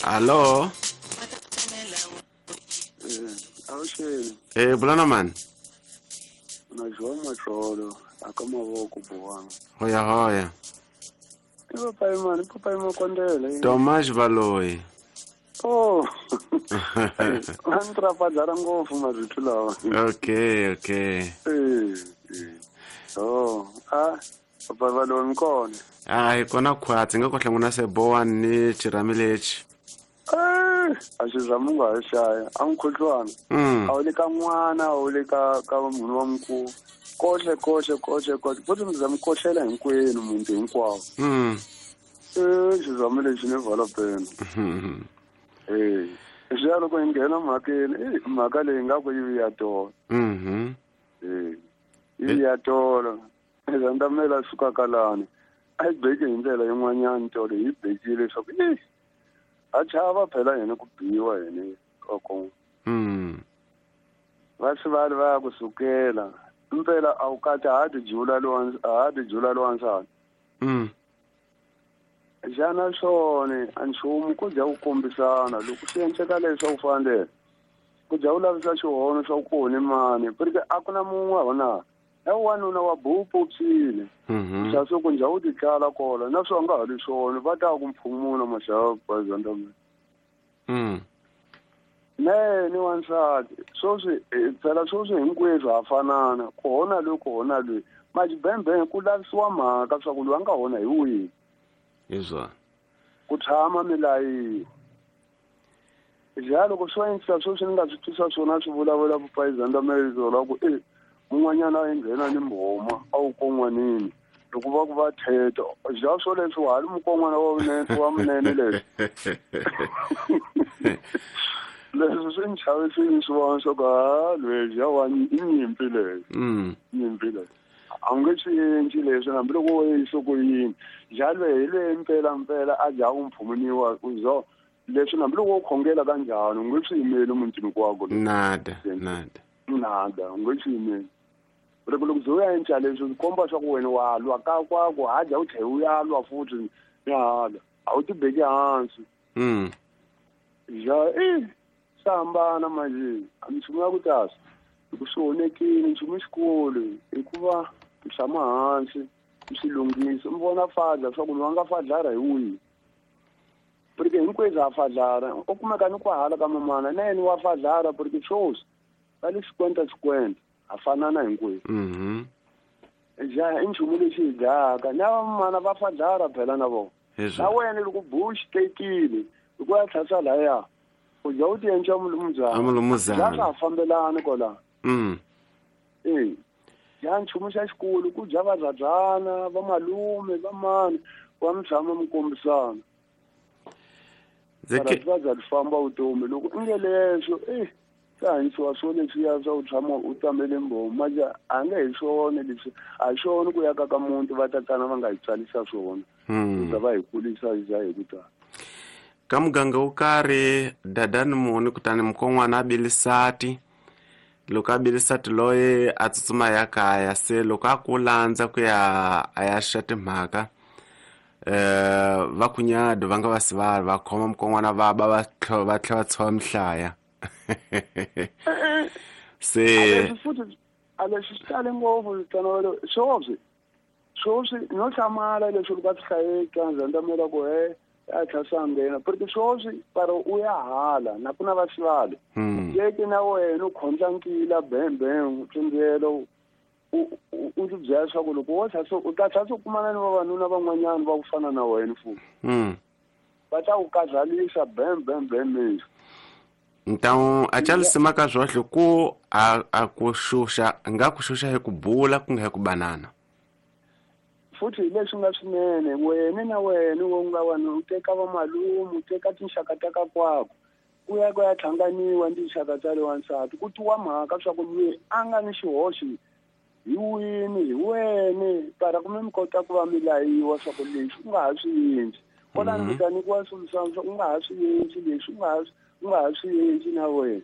Allo? Avuxeni. Bulana mani? Na João Matlolo, aka mavoko buwanga. Hoya hoya. I papai mani, papai Makondele. Tomas Baloyi. Oh. Va ni trafadzara ngopfu marito lawa. Okay, okay. Oh, ah, papai Baloyi mi kona. Ah, hi kona khwatsi nga ko hlangana se bowa ni xirhami lexi. A xi zama u nga ha xaya a mukhuhlwana. A wu le ka n'wana, a wu le ka munhu wa mukulu. Kohle kohle kohle kohle futhi mi za mi kohlela hinkwenu muti hinkwawo. Xizamo lexi ni vala pena. Swi ya loko hi nghena mhakeni, mhaka leyi nga ku yi ya tolo. Yi ya tolo. Zandamela suka kalani. A yi beki hi ndlela yin'wanyana tolo hi bekile leswaku a chava phela yena ku biwa yena koko. Va swi va va ku sukela. Impela a wu kati ha ti jula lowansati. Xana swona a nchumu ku dya ku kombisana loko swi endleka leswi swa ku fana ku dya u lavisa xihono swa ku ni mani porque a ku na mun'we hona na wanuna wa bupu psile. Xa swo ku njha u ti tlala kola na swi nga ha ri swona va ta ku mphumuna maxava bazandama. Ne ni wansati swoswi phela swoswi hinkweswo ha fanana ku hona loyi ku hona loyi majibembe ku lavisiwa mhaka swa ku loyi a nga hona hi wihi. Izwa ku tshama milayi ja loko swo endla swoswi ni nga swi twisa swona swi vulavula vupayizandamelizo la ku mun'wanyana a nghena ni mbhoma a wu kon'wanini loko va ku va theta ja swo leswi wa ha ri mukon'wana wa munene leswi leswi swi ni chavisini swi vona swa ku ha lweyi ja wa i nyimpi leyi. Nyimpi leyi a wu nge swi endli leswi hambiloko wo yisa ku yini ja lweyi hi lweyi mpela mpela a dya ku mphumuniwa zo leswi hambiloko wo khongela kanjhani u nge swi yimeli mutini kwako. Nada nada nada u nge swi yimeli. Loko loko u ya endla leswi swi komba swa ku wena wa lwa ka kwako ha dya u tlhela u ya lwa futhi ni hala a wu ti beki hansi. Ja swi hambana manje a minchumu ya ku tasa loko swi onhekile nchumu xikulu hikuva mi tshama hansi mi swi lunghisa mi vona fadla swa ku loyi a nga fadlara hi wihi porque hinkwenu ha fadlara u kumeka ni ku hala ka mamana na yena wa fadlara porque swoswi va le xikwenta xikwenta ha fanana hinkwenu. Ja i nchumu lexi hi dlaka na vamana va fadlara phela na vona. Na wena loko bush tekile loko ya tlhasa laya u dya u ti endla mulumuzana ja swa fambelani kola. Ja nchumu xa xikulu ku dya vazadzana va malume va mani wa mi tshama mi kombisana. Va dya famba vutomi loko i nge leswo swi hanyisiwa swo leswiya swa u tshama u tamele mbhomu manje a nge hi swona leswi a hi swona ku ya ka ka muti va tatana va nga hi tswalisa swona ku va hi kulisa hi hi ku tala. Ka muganga wo karhi dadani muni kutani mukon'wana a bilisati loko a bilisati loyi a tsutsuma ya kaya se loko a ku landza ku ya a ya xa timhaka va kunyado va nga va sivali va khoma mukon'wana va ba va tlhela va tshova mihlaya. Se a leswi swi tale ngopfu tano swoswi swoswi no hlamala leswi loko a swi hlayeka ndzandamela ku a tlhasa nghena porque swoswi para u ya hala na ku na va sivali yeke na wena u khondla nkila bembe u tsundzelo u ti byela swa ku loko wo tlhasa u ta tlhasa u kumana ni vavanuna van'wanyana va ku fana na wena futhi va ta ku kazalisa bembe bembe. Então a chalisima ka zwohle ku a ku xuxa nga ku xuxa hi ku bula ku nga hi ku banana futhi leswi nga swinene wena na wena wo nga wena u teka va malume u teka tinxaka ta ka kwako ku ya ku ya hlanganiwa ni tinxaka ta le wansati ku twiwa mhaka swa ku loyi a nga ni xihoxo hi wini hi wena para ku mi kota ku va mi layiwa swa ku leswi u nga ha swi endli kwalano mi ta nyikiwa swilo u nga ha swi endli leswi u nga ha swi endli na wena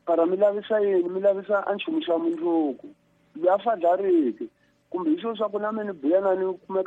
para mi lavisa yini mi lavisa a nchumu xa mundzuku loyi a fadlariki kumbe hi swo swa ku na mina ni buya na ni kumeka.